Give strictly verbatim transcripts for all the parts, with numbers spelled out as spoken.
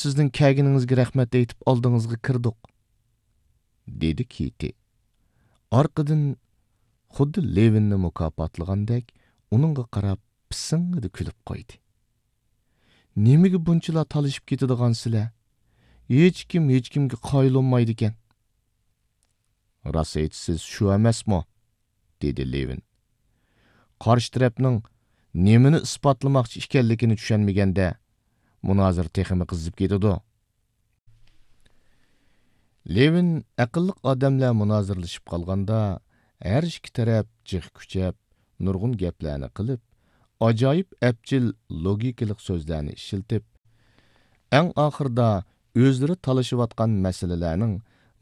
سىزنىڭ كەلگىنىڭىزگە رەھمەت ئېيتىپ ئالدىڭىزغا كىردۇق، دېدى كېتى. ئارقىدىن خۇددى لېۋىننى مۇكاپاتلىغاندەك ئۇنىڭغا قاراپ پىسىڭڭىدە كۈلۈپ قويدى. نېمىگە بۇنچىلا تالىشىپ كېتىدىغانسىلەر؟ ھېچكىم ھېچكىمگە قايىل بولمايدىكەن. راست ئېيتىسىز، شۇ ئەمەسمۇ؟ دېدى لېۋىن. قارشى تەرەپنىڭ نېمىنى ئىسپاتلىماقچى ئىكەنلىكىنى چۈشەنمىگەندە، مۇنازىرە تېخىمۇ قىزىپ كېتىدۇ. لېۋىن ئەقىللىق ئادەملەر مۇنازىرىلىشىپ قالغاندا، ھەر ئىككى تەرەپ جىق كۈچەپ، نۇرغۇن گەپلەرنى قىلىپ، ئاجايىپ ئەپچىل لوگىكىلىق سۆزلەرنى ئىشلىتىپ، ئەڭ ئاخىرىدا ئۆزلىرى تالىشىۋاتقان مەسىلىلەرنىڭ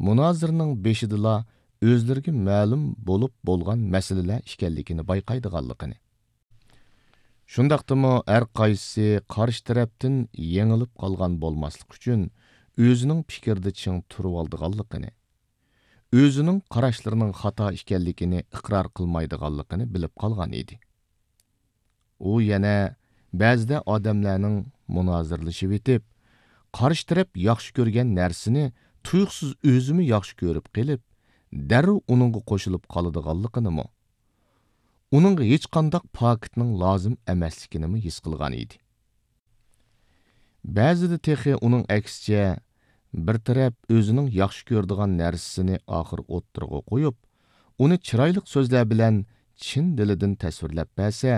مۇنازىرىنىڭ بېشىدىلا ئۆزلىرىگە مەلۇم بولۇپ بولغان مەسىلىلەر ئىكەنلىكىنى بايقايدىغانلىقىنى، شۇنداقتىمۇ ھەر قايسىسى قارشى تەرەپتىن يېڭىلىپ قالغان بولماسلىق ئۈچۈن ئۆزىنىڭ پىكرىدە چىڭ تۇرۇۋالىدىغانلىقىنى، ئۆزىنىڭ قاراشلىرىنىڭ خاتا ئىكەنلىكىنى ئىقرار قىلمايدىغانلىقىنى بىلىپ قالغان ئىدى. ئۇ يەنە بەزىدە ئادەملەرنىڭ مۇنازىرىلىشىۋېتىپ، قارشى تەرەپ ياخشى كۆرگەن نەرسىنى تۇيۇقسىز ئۆزىمۇ ياخشى كۆرۈپ قېلىپ، دەررۇ ئۇنىڭغا قوشۇلۇپ قالىدىغانلىقىنىمۇ، ئۇنىڭغا ھېچقانداق پاكىتنىڭ لازىم ئەمەسلىكىنىمۇ ھېس قىلغان ئىدى. بەزىدە تېخى ئۇنىڭ ئەكسىچە، بىر تەرەپ ئۆزىنىڭ ياخشى كۆرىدىغان نەرسىسىنى ئاخىر ئوتتۇرىغا قويۇپ، ئۇنى چىرايلىق سۆزلەر بىلەن چىن دىلىدىن تەسۋىرلەپ بەرسە،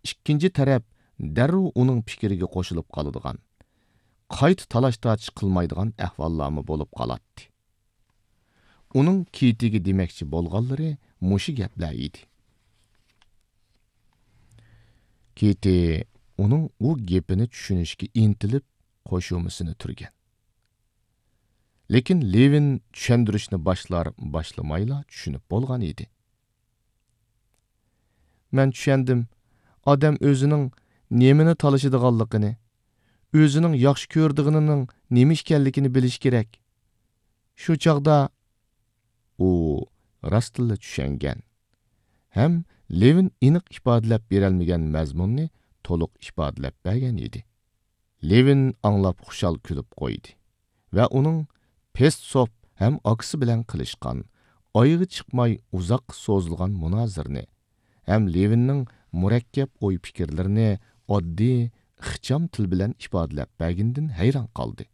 ئىككىنچى تەرەپ دەررۇ ئۇنىڭ پىكرىگە قوشۇلۇپ قالىدىغان، قايتا تالاش-تارتىش قىلمايدىغان ئەھۋاللارمۇ بولۇپ قالاتتى. ئۇنىڭ كېتىگە دېمەكچى بولغانلىرى مۇشۇ گەپلەر ئىدى. كېتى ئۇنىڭ ئۇ گېپىنى چۈشىنىشكە ئىنتىلىپ، قوشۇمىسىنى تۈرگەن. لېكىن لېۋىن چۈشەندۈرۈشنى باشلار-باشلىمايلا چۈشىنىپ بولغان ئىدى. مەن چۈشەندىم، ئادەم ئۆزىنىڭ نېمىنى تالىشىدىغانلىقىنى، ئۆزىنىڭ ياخشى كۆرىدىغىنىنىڭ نېمە ئىكەنلىكىنى بىلىشى كېرەك. شۇ چاغدا ئۇ راستتىنلا چۈشەنگەن ھەم لېۋىن ئېنىق ئىپادىلەپ بېرەلمىگەن مەزمۇننى تولۇق ئىپادىلەپ بەرگەن ئىدى. لېۋىن ئاڭلاپ خۇشال كۈلۈپ قويدى ۋە ئۇنىڭ پېستسوف ھەم ئاكىسى بىلەن قىلىشقان، ئايىغى چىقماي ئۇزاققا سوزۇلغان مۇنازىرىنى ھەم لېۋىننىڭ مۇرەككەپ ئوي-پىكىرلىرىنى ئاددىي، ئىخچام تىل بىلەن ئىپادىلەپ بەرگىنىدىن ھەيران قالدى.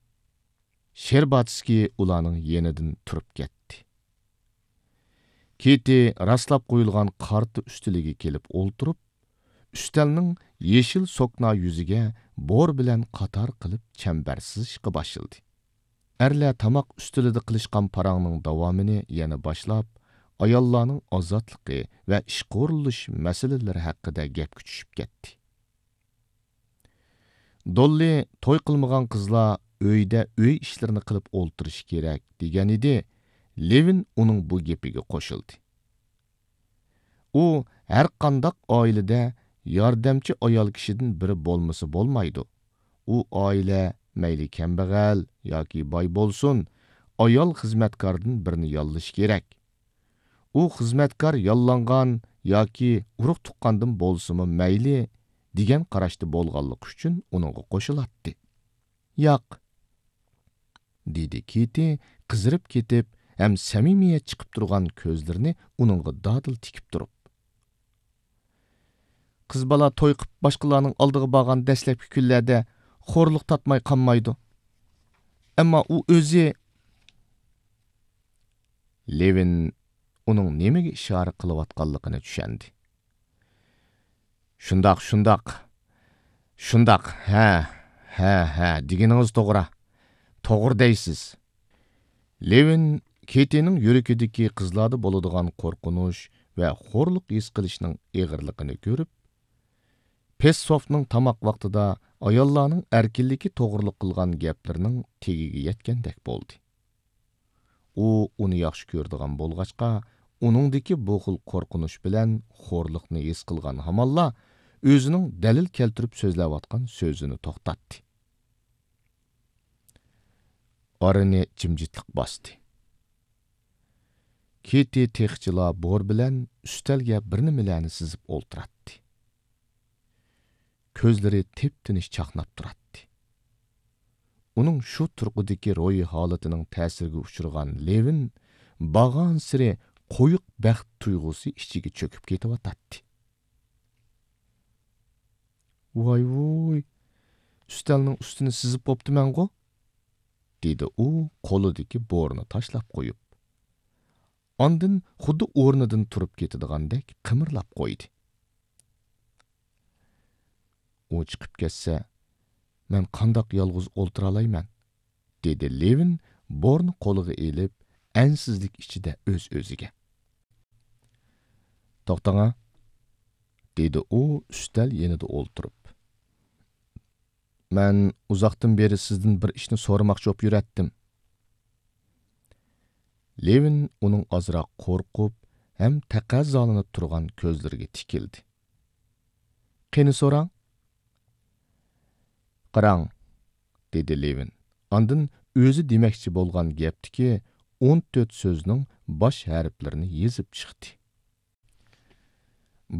شېرباتسكىي ئۇلارنىڭ يېنىدىن تۇرۇپ كەتتى. كېتى راسلاپ قويۇلغان قارتا ئۈستىلىگە كېلىپ ئولتۇرۇپ، ئۈستەلنىڭ يېشىل سوكنا يۈزىگە بور بىلەن قاتار قىلىپ چەمبەر سىزىشقا باشلىدى. ئەرلەر تاماق ئۈستىلىدە قىلىشقان پاراڭنىڭ داۋامىنى يەنە باشلاپ، ئاياللارنىڭ ئازادلىقى ۋە ئىشقا ئورۇنلىشىش مەسىلىلىرى ھەققىدە گەپكە چۈشۈپ كەتتى. دوللى توي قىلمىغان قىزلار ئۆيدە ئۆي ئىشلىرىنى قىلىپ ئولتۇرۇشى كېرەك دېگەنىدى، لېۋىن ئۇنىڭ بۇ گېپىگە قوشۇلدى. ئۇ ھەرقانداق ئائىلىدە ياردەمچى ئايال كىشىدىن بىرى بولمىسا بولمايدۇ. ئۇ ئائىلە مەيلى كەمبەغەل ياكى باي بولسۇن، ئايال خىزمەتكاردىن بىرنى ياللىشى كېرەك. ئۇ خىزمەتكار ياللانغان ياكى ئۇرۇق-تۇغقاندىن بولسىمۇ مەيلى، دېگەن قاراشتا بولغانلىقى ئۈچۈن ئۇنىڭغا قوشۇلاتتى. ياق، دېدى كېتى قىزىرىپ كېتىپ ھەم سەمىمىيەت چىقىپ تۇرغان كۆزلىرىنى ئۇنىڭغا دادىل تىكىپ تۇرۇپ. قىز بالا توي قىپ باشقىلارنىڭ ئالدىغا بارغان دەسلەپكى كۈنلەردە خورلۇق تارتماي قالمايدۇ. ئەمما ئۇ ئۆزى. لېۋىن ئۇنىڭ نېمىگە ئىشارە قىلىۋاتقانلىقىنى چۈشەندى. شۇنداق، شۇنداق. شۇنداق، ھە، ھە، ھە، دېگىنىڭىز توغرا. توغرا دەيسىز. لېۋىن كېتىنىڭ يۈرىكىدىكى قىزلاردا بولىدىغان قورقۇنچ ۋە خورلۇق ھېس قىلىشنىڭ ئېغىرلىقىنى كۆرۈپ، پېسسوفنىڭ تاماق ۋاقتىدا ئاياللارنىڭ ئەركىنلىكى توغرىلىق قىلغان گەپلىرىنىڭ تېگىگە يەتكەندەك بولدى. ئۇ ئۇنى ياخشى كۆرىدىغان بولغاچقا، ئۇنىڭدىكى بۇ خىل قورقۇنچ بىلەن خورلۇقنى ھېس قىلغان ھامانلا ئۆزىنىڭ دەلىل كەلتۈرۈپ سۆزلەۋاتقان سۆزىنى توختاتتى. ئارىنى جىمجىتلىق باستى. كېتى تېخىچىلا بور بىلەن ئۈستەلگە بىر نېمىلەرنى سىزىپ ئولتۇراتتى. كۆزلىرى تىپتىنچ چاقناپ تۇراتتى. ئۇنىڭ شۇ تۇرقىدىكى روھىي ھالىتىنىڭ تەسىرىگە ئۇچرىغان لېۋىن بارغانسېرى قويۇق بەخت تۇيغۇسى ئىچىگە چۆكۈپ كېتىۋاتاتتى. ۋاي ۋۇي، ئۈستەلنىڭ ئۈستىنى سىزىپ بوپتىمەنغۇ؟ دېدى ئۇ قولىدىكى بورىنى تاشلاپ قويۇپ. ئاندىن خۇددى ئورنىدىن تۇرۇپ كېتىدىغاندەك قىمىرلاپ قويدى. ئۇ چىقىپ كەتسە، مەن قانداق يالغۇز ئولتۇرالايمەن؟ دېدى لېۋىن بورنى قولىغا ئېلىپ، ئەنسىزلىك ئىچىدە ئۆز-ئۆزىگە. توختاڭا، دېدى ئۇ ئۈستەل يېنىدا ئولتۇرۇپ. مەن ئۇزاقتىن بېرى سىزدىن بىر ئىشنى سورىماقچى بولۇپ يۈرەتتىم. لېۋىن ئۇنىڭ ئازراق قورقۇپ ھەم تەقەززالىنىپ تۇرغان كۆزلىرىگە تىكىلدى. قېنى سوراڭ؟ قاراڭ، دېدى لېۋىن. ئاندىن ئۆزى دېمەكچى بولغان گەپتىكى ئون تۆت سۆزنىڭ باش ھەرپلىرىنى يېزىپ چىقتى.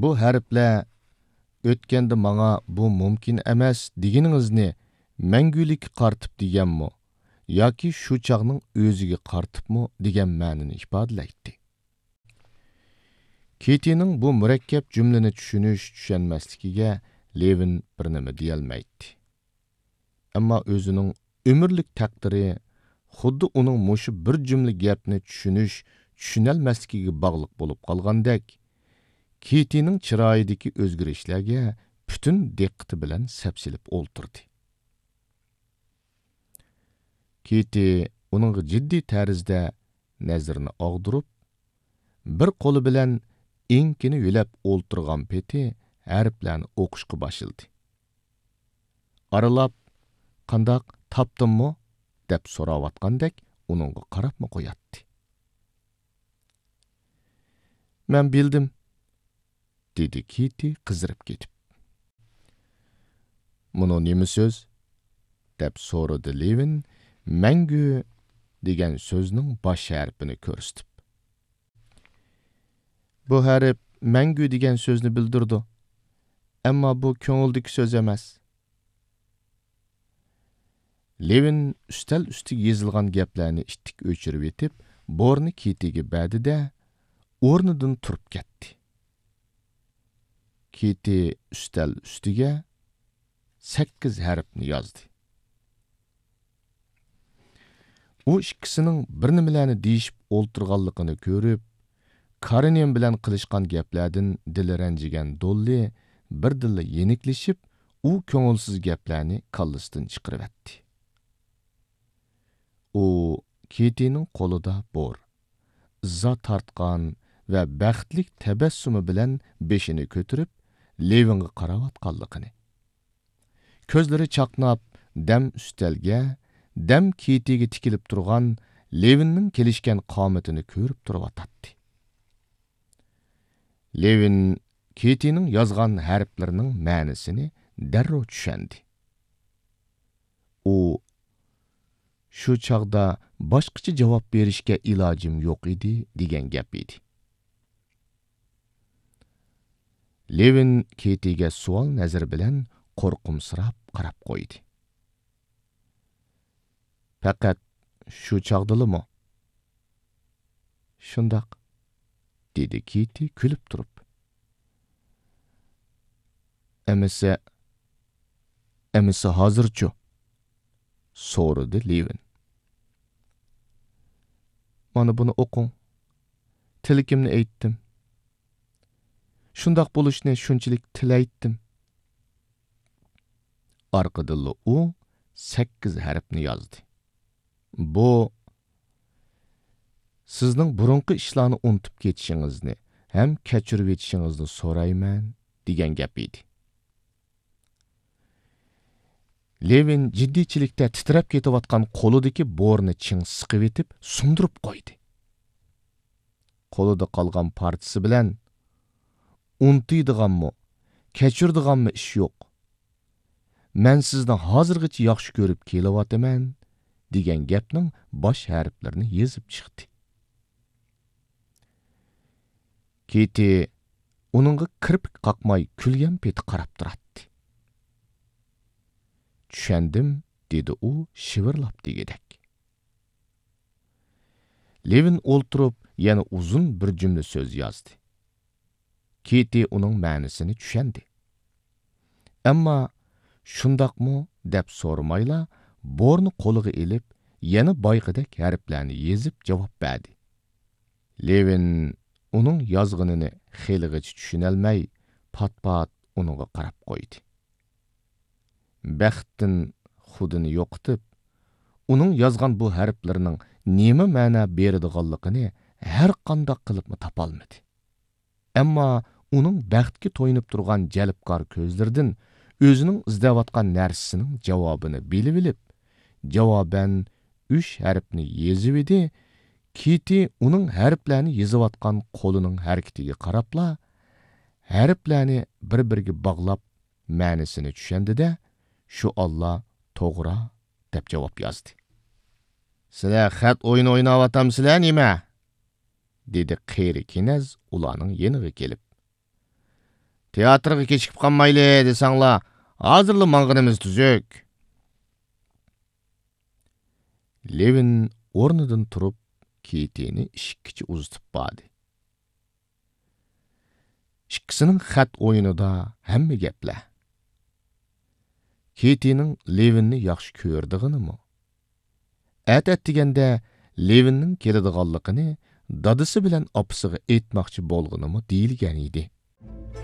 بۇ ھەرپلەر ئۆتكەندە ماڭا بۇ مۇمكىن ئەمەس دېگىنىڭىزنى مەڭگۈلۈككە قارىتىپ دېگەنمۇ ياكى شۇ چاغنىڭ ئۆزىگە قارىتىپمۇ دېگەن مەنىنى ئىپادىلەيتتى. كىتىنىڭ بۇ مۇرەككەپ جۈملىنى چۈشىنىش-چۈشەنمەسلىكىگە لېۋىن بىر نېمە دېيەلمەيتتى. ئەمما ئۆزىنىڭ ئۆمۈرلۈك تەقدىرى خۇددى ئۇنىڭ مۇشۇ بىر جۈملە گەپنى چۈشىنىش-چۈشىنەلمەسلىكىگە باغلىق بولۇپ قالغاندەك، كىتىنىڭ چىرايىدىكى ئۆزگىرىشلەرگە پۈتۈن دىققىتى بىلەن سەپسېلىپ ئولتۇردى. كىتى ئۇنىڭغا جىددىي تەرزدە نەزىرىنى ئاغدۇرۇپ، بىر قولى بىلەن ئېڭىكىنى يۆلەپ ئولتۇرغان پېتى ھەرپلەرنى ئوقۇشقا باشلىدى. ئارىلاپ، «قانداق، تاپتىڭمۇ؟» دەپ سوراۋاتقاندەك ئۇنىڭغا قاراپمۇ قوياتتى. «مەن بىلدىم»، دېدى كىتى قىزىرىپ كېتىپ. «مۇنۇ نېمە سۆز؟» دەپ سورىدى لېۋىن مەڭگۈ دېگەن سۆزنىڭ باش ھەرپىنى كۆرسىتىپ. «بۇ ھەرپ مەڭگۈ دېگەن سۆزنى بىلدۈرىدۇ. ئەمما بۇ كۆڭۈلدىكى سۆز ئەمەس.» لېۋىن ئۈستەل ئۈستىگە يېزىلغان گەپلەرنى ئىتتىك ئۆچۈرۈۋېتىپ، بورنى كىتىگە بەردى-دە، ئورنىدىن تۇرۇپ كەتتى. كىتى ئۈستەل ئۈستىگە سەككىز ھەرپنى يازدى. ئۇ ئىككىسىنىڭ بىر نېمىلەرنى دېيىشىپ ئولتۇرغانلىقىنى كۆرۈپ، كارىنىن بىلەن قىلىشقان گەپلەردىن دىلى رەنجىگەن دوللى بىردىنلا يېنىكلىشىپ، ئۇ كۆڭۈلسىز گەپلەرنى كاللىسىدىن چىقىرىۋەتتى. ئۇ كىتىنىڭ قولىدا بور، ئىززا تارتقان ۋە بەختلىك تەبەسسۇمى بىلەن بېشىنى كۆتۈرۈپ، لېۋىنغا قاراۋاتقانلىقىنى، كۆزلىرى چاقناپ، دەم ئۈستەلگە، دەم كىتىگە تىكىلىپ تۇرغان لېۋىننىڭ كېلىشكەن قامىتىنى كۆرۈپ تۇرۇۋاتاتتى. لېۋىن كىتىنىڭ يازغان ھەرپلىرىنىڭ مەنىسىنى دەررۇ چۈشەندى. ئۇ، «شۇ چاغدا باشقىچە جاۋاب بېرىشكە ئىلاجىم يوق ئىدى» دېگەن گەپ ئىدى. لېۋىن كىتىگە سوئال نەزىرى بىلەن قورقۇمسىراپ قاراپ قويدى. «پەقەت شۇ چاغدىلىمۇ؟» «شۇنداق»، دېدى كىتى كۈلۈپ تۇرۇپ. «ئەمىسە، ئەمىسە ھازىرچۇ؟» سورىدى لېۋىن. «مانا بۇنى ئوقۇڭ. تىلىكىمنى ئېيتتىم. شۇنداق بولۇشنى شۇنچىلىك تىلەيتتىم.» ئارقىدىنلا ئۇ سەككىز ھەرپنى يازدى. «بۇ، سىزنىڭ بۇرۇنقى ئىشلارنى ئۇنتۇپ كېتىشىڭىزنى ھەم كەچۈرۈۋېتىشىڭىزنى سورايمەن» دېگەن گەپ ئىدى. لېۋىن جىددىيچىلىكتە تىترەپ كېتىۋاتقان قولىدىكى بورنى چىڭ سىقىۋېتىپ سۇندۇرۇپ قويدى. قولىدا قالغان پارچىسى بىلەن، «ئۇنتۇيدىغانمۇ، كەچۈرىدىغانمۇ ئىش يوق. مەن سىزنى ھازىرغىچە ياخشى كۆرۈپ كېلىۋاتىمەن» دېگەن گەپنىڭ باش ھەرپلىرىنى يېزىپ چىقتى. كىتى ئۇنىڭغا كىرپىك قاقماي كۈلگەن پېتى قاراپ تۇراتتى. «چۈشەندىم» دېدى ئۇ شىۋىرلاپ دېگۈدەك. لېۋىن ئولتۇرۇپ، يەنە ئۇزۇن بىر جۈملە سۆز يازدى. كىتى ئۇنىڭ مەنىسىنى چۈشەندى. ئەمما، «شۇنداقمۇ؟» دەپ سورىمايلا، بورنى قولىغا ئېلىپ، يەنە بايىقىدەك ھەرپلەرنى يېزىپ جاۋاب بەردى. لېۋىن ئۇنىڭ يازغىنىنى خېلىغىچە چۈشىنەلمەي، پات-پات ئۇنىڭغا قاراپ قويدى. بەختتىن خۇدىنى يوقىتىپ، ئۇنىڭ يازغان بۇ ھەرپلىرىنىڭ نېمە مەنە بېرىدىغانلىقىنى ھەر قانداق قىلىپمۇ تاپالمىدى. ئەمما ئۇنىڭ بەختكە تويۇنۇپ تۇرغان جەلپكار كۆزلىرىدىن ئۆزىنىڭ ئىزدەۋاتقان نەرسىسىنىڭ جاۋابىنى بىلىۋېلىپ، جاۋابەن ئۈچ ھەرپنى يېزىۋىدى. كىتى ئۇنىڭ ھەرپلەرنى يېزىۋاتقان قولىنىڭ ھەرىكىتىگە قاراپلا، ھەرپلەرنى بىر-بىرىگە باغلاپ، مەنىسىنى چۈشەندى-دە، شۇ ئاللا توغرا دەپ جاۋاب يازدى. «سىلەر خەت ئويۇنى ئويناۋاتامسىلەر نېمە؟» دېدى قېرى كېنەز ئۇلارنىڭ يېنىغا كېلىپ. «تىياتىرغا كېچىكىپ قالمايلى دېسەڭلار، ھازىرلا ماڭغىنىمىز تۈزۈك.» لېۋىن ئورنىدىن تۇرۇپ، كىتىنى ئىشىككىچە ئۇزىتىپ باردى. ئىككىسىنىڭ خەت ئويۇنىدا ھەممە گەپلەر. كىتىنىڭ لېۋىننى ياخشى كۆرىدىغىنىمۇ، ئەتە ئەتىگەندە لېۋىننىڭ كېلىدىغانلىقىنى دادىسى بىلەن ئاپىسىغا ئېيتماقچى بولغىنىمۇ دېيىلگەن ئىدى.